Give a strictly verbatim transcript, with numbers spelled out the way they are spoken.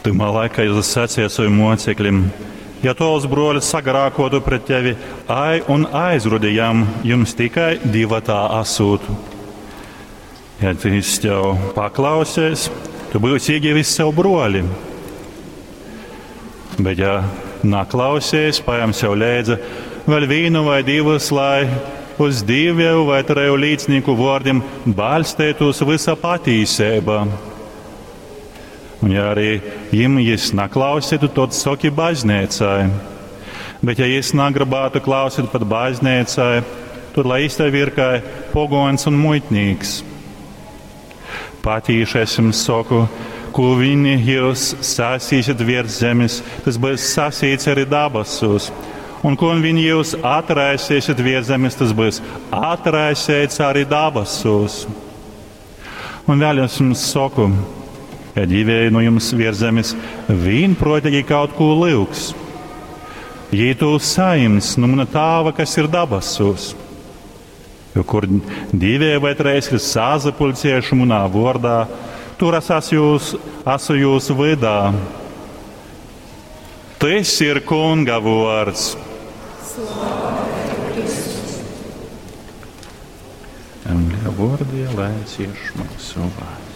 Tymā laikā Jēzus sacīja saviem mocekļiem: Ja tovs brolis sagrākotu pret tevi, aj un aizrodi jam, jums tikai divatā asūt. Ja jis tev paklausies, tu būsi iegivis sev broli. Bet ja naklausies, paņem sev leidzi vēl vienu vai divus, lai uz divu vai treju līdznieku vārdiem balstītos visa patīsība. Un ja arī jim jis naklausītu, tad soki baznīcai. Bet ja jis nagribētu klausīt pat baznīcai, tad lai jis tev ir kā pogons un muitnīks. Patīši es jums saku, ko viņi jūs sasīsiet virs zemes, tas būs sasīts arī dabasos. Un ko viņi jūs atraisīsiet virs zemes, tas būs atraisīts arī dabasos. Un vēl es jums saku, ja divi no jums virs zemes vienprātīgi kaut ko lūgs, jī to saņems no mana tāva, kas ir dabasos. Jo kur divi vai trīs ir sazapulcējuši manā vārdā, tur es esmu jūs, esmu jūsu vidā. Tas ir Kunga vārds. Vārdie, lai cieš mūsu vārds.